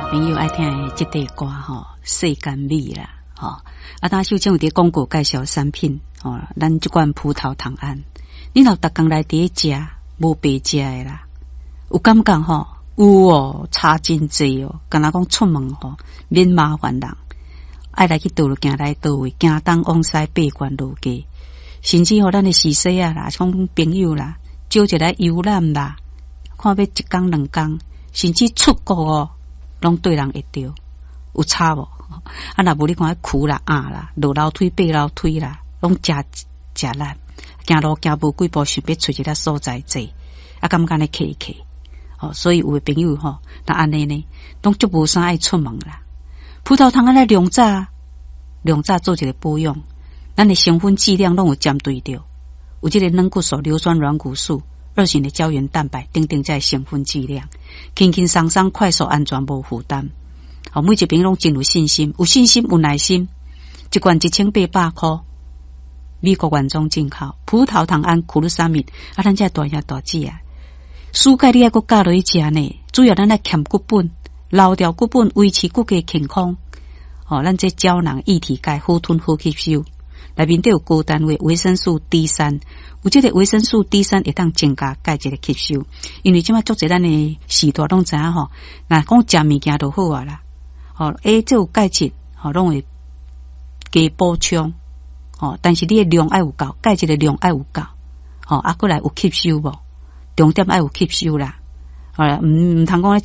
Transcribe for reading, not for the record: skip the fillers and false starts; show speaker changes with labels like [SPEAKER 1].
[SPEAKER 1] 朋友愛聽的這塊歌吼，世間美啦，吼。啊，當秀清有佇廣告介紹產品，吼，咱這罐葡萄糖胺，你若逐工來佇咧食，無白食的啦，有感覺吼？有哦，差真濟哦，敢若講出門吼，免麻煩人，愛來去佗落行來佗位，行東往西八關落街，甚至吼咱的序細仔啦，講朋友啦，招一來遊覽啦，看欲一工兩工，甚至出國哦，攏對人會著，有差無？啊，若無你看苦啦、壓啦，落樓梯、爬樓梯啦，攏誠食力，行路行無幾步，想欲揣一个所在坐，啊，感覺按呢客客。哦，所以有的朋友吼，若按呢呢，攏足無啥愛出門啦。葡萄糖胺來量早，量早做一個保養，咱的成分劑量攏有針對著，有這個軟骨素、硫酸軟骨素、二型的膠原蛋白等等，這成分劑量，輕輕鬆鬆、快速、安全、無負擔。哦，每一朋友攏真有信心，有信心有耐心，一罐1800箍，美國原裝進口葡萄糖胺苦魯沙米，啊，咱這大兄大姊啊。暑假你愛閣加落去食呢？主要咱愛儉骨本，留掉骨本，維持骨骼健康。哦，咱這膠囊液體鈣好吞好吸收，內面底有高單位維生素 D 3，有這個維生素 D 三會當增加鈣質的吸收。因為這馬足濟咱的時代攏知影吼，若講食物件就好啊啦。吼，欸，這有鈣質，吼，攏會加補充。吼，但是你的量愛有夠，鈣質的量愛有夠。吼，啊，閣來有吸收無？重點愛有吸收啦，好啦，毋通講咧。